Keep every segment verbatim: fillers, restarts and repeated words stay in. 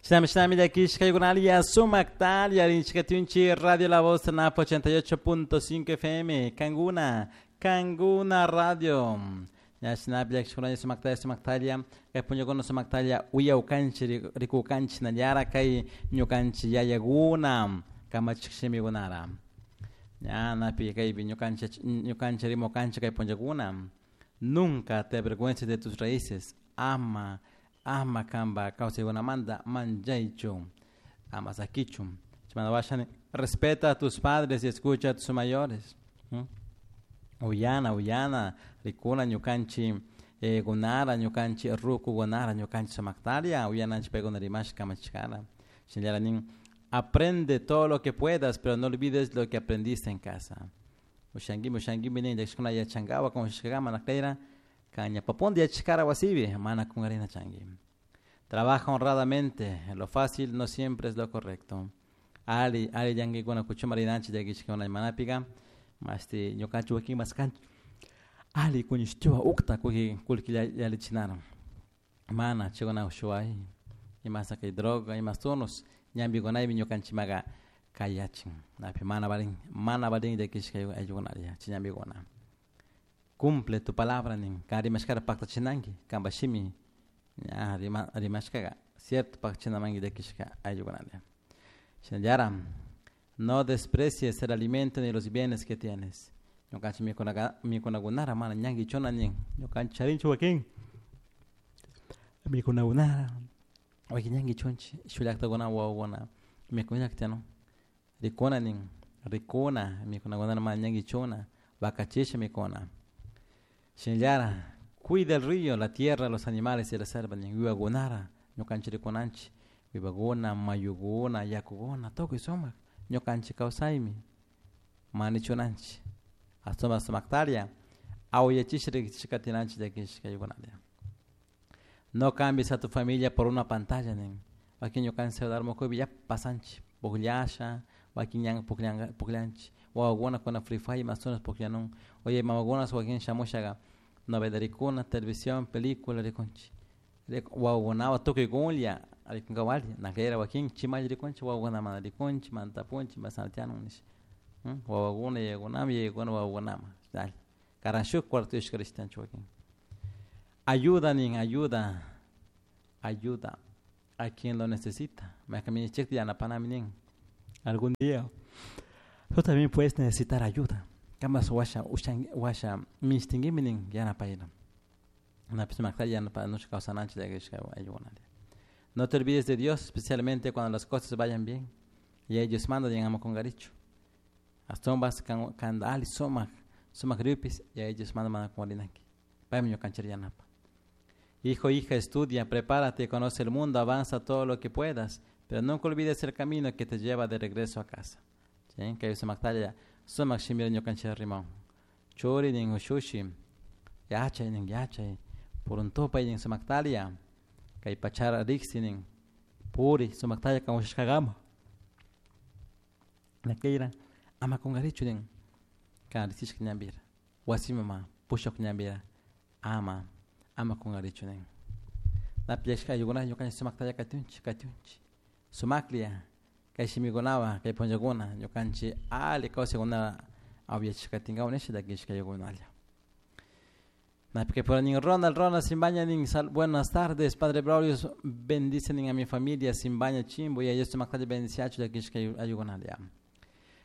Shinami shinami llakishkaykunalia sumaktalia rinchikatunchi Radio La Voz Napo ochenta y ocho punto cinco F M Kanguna Kanguna Radio. Ya shinapi llakishkunalla sumaktalia sumaktalia kay punllakuna sumaktalia uyawkanchi rikukanchi nallara kay ñukanchi yayakuna kamachik shimikunara. Ya napi kaypi ñukanchi ñukanchi rimukanchi kay punllakuna. Nunca te avergüences de tus raíces. Ama ama kamba kawsaykunamanta manchaychu ama sakichu. Chimana respeta a tus padres y escucha a tus mayores. ¿Mm? Uyana, uyana, rikuna ñukanchi eh, gunara, ñukanchi ruku gunara, ñukanchi sumaktaria, uyananchi paykuna rimash kamachikara. Shinallara nin, aprende todo lo que puedas, pero no olvides lo que aprendiste en casa. Ushanguimi, ushanguimi nin, llakishkuna yachankawa, como shishkakama nakteira, caña papondi yachikara wasibi, mana kungarina changi. Trabaja honradamente, lo fácil no siempre es lo correcto. Ali, ali llankikuna kuchuma rinanchi llakishkuna manapiga, masti ñukanchik wakin maskanchik ali kuñishtiwa ukta kuki kullki yalichinara. Mana chikuna ushuay, imasa kay droga, imas tunos, ñambikunaypi ñukanchimaga kayachin. Napi mana valin, mana valin llakishka ayllukuna chiñambikuna. Cumple tu palabra nin, kan rimashkara paktachinanki, kanpa shimi ña rima, rimashkaga cierto paktachinamanki llakishka ayllukunalla. Shinallara, no desprecies el alimento ni los bienes que tienes. Ñukanchik mikunaga, mikunakunara mana ñankichuna nin, ñukanchik charinchu wakin mikunakunara wakin ñankichunchik shullaktakuna wawakuna mikuñakta no rikuna nin, rikuna mikunakunara mana ñankichuna wakachisha mikuna. Shinallara, cuida el río, la tierra, los animales y la selva nin, wiwakunara ñukanchik rikunanchik wiwakuna, mayukuna, yakukuna tukuy sumak ñukanchik kawsaymi manichunanchik asuma sumaktaria awyachish riqsishkatinanchik llakishkaykunalla. No cambies a tu familia por una pantalla nin, wakin ñukanchik celular mukuypi yapa pasanchik pukllasha, wakin ñan pukllanka pukllanchik wawakuna kuna Free Fire masunas pukllanun, oye mamakuna wakin shamushaga novela rikuna, televisión, película rikunchik wawakunawan tukuykunlla rikunkawalli nakayra wakin chimalla rikunchik wawakuna mana rikunchik mana tapunchik masanatianun nish wawakuna yayakunama yayakuna wawakunama dale karan shuk cuarto rishtanchik wakin. Ayuda nin, ayuda, ayuda a quien lo necesita. Maykaminichikta yanapanami nin. Algún día tú también puedes necesitar ayuda. Kamas washa ushan washa mishtinkimi nin yanapayna. Napis makta yanapanush kawsananchik llakishka ayukunalla. No te olvides de Dios, especialmente cuando las cosas vayan bien. Y ellos mandan y ama kungarichu. Astumbas kan kanda ali sumak sumak ripis y ellos mandan mana kungarinanki. Paymi ñukanchik yanapa. Hijo, hija, estudia, prepárate, conoce el mundo, avanza todo lo que puedas, pero nunca olvides el camino que te lleva de regreso a casa. ¿Sí? Kay sumaktalla sumak shimira ñukanchik rimon. Churi nin ushushi, yachay nin yachay, puruntupay nin sumaktalia, kay pachara riksi nin, puri sumaktalla kan ushashkagama. Nakayra ama kungarichu nin, kan riksishka ñambira, wasimama pushuk ñambira, ama ama kungarichu nin. Napi llakishka ayllukuna ñukanchik sumaktalla katunchik katunchik. Sumaklia kay shimikunawan kay punllakuna ñukanchik alli kawsaykuna awyachishkatinkawan nisha llakishka ayllunalla. Napi kay pura nin Ronald, Ronald Simbaña nin, sal, buenas tardes, Padre Braulio, bendicen a mi familia Simbaña Chimbo y a ellos sumaktalla bendiciachu llakishka ayllunalla.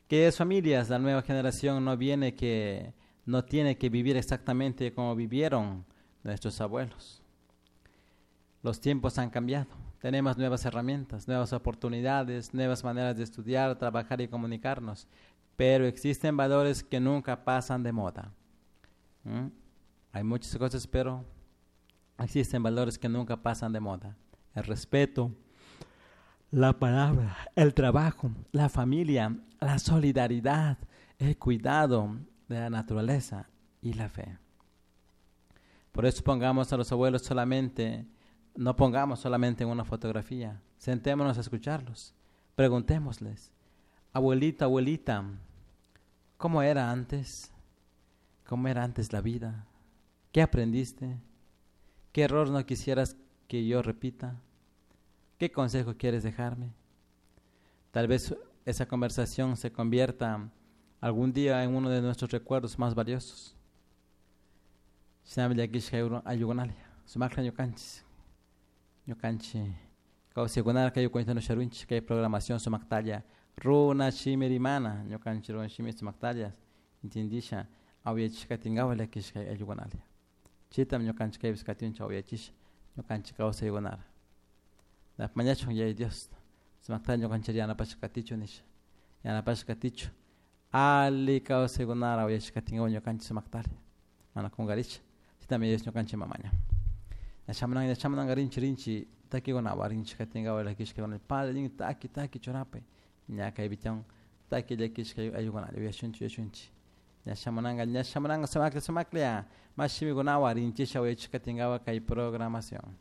Queridas familias, la nueva generación no viene que no tiene que vivir exactamente como vivieron nuestros abuelos. Los tiempos han cambiado. Tenemos nuevas herramientas, nuevas oportunidades, nuevas maneras de estudiar, trabajar y comunicarnos, pero existen valores que nunca pasan de moda. ¿Mm? Hay muchas cosas, pero existen valores que nunca pasan de moda. El respeto, la palabra, el trabajo, la familia, la solidaridad, el cuidado de la naturaleza y la fe. Por eso pongamos a los abuelos solamente, no pongamos solamente en una fotografía, sentémonos a escucharlos, preguntémosles, abuelita, abuelita, ¿cómo era antes? ¿Cómo era antes la vida? ¿Qué aprendiste? ¿Qué error no quisieras que yo repita? ¿Qué consejo quieres dejarme? Tal vez esa conversación se convierta algún día en uno de nuestros recuerdos más valiosos. Shinami llakishka ayllukunalla sumakla ñukanchik ñukanchik kawsaykunara kay cuenta usharunchik kay programación sumaktalla runa shimi rimana ñukanchik runa shimi sumaktalla entendisha awyachishka katinkapak llakishka ayllukunalla chaytami ñukanchik kaypish katinchik awyachisha ñukanchik kawsaykunara mañachun Yaya Dios sumaktalla ñukanchik yanapashka katichun nisha yanapashka katichun alli kawsaykunara awyachishka katinkapak ñukanchik sumaktalla mana kunkarisha chaytami Dios ñukanchik mamaña shamunanka shamunanka rinchi rinchi takikunawan rinchi katinkapak llakishka padre nin taki taki churapay ña kaypi tiyan taki llakishka ayllukunalla uyashunchik uyashunchik ña shamunanka ña shamunanka sumaklla sumaklla mash shimikunawan rinchisha uyachishka katinkapak kay programación.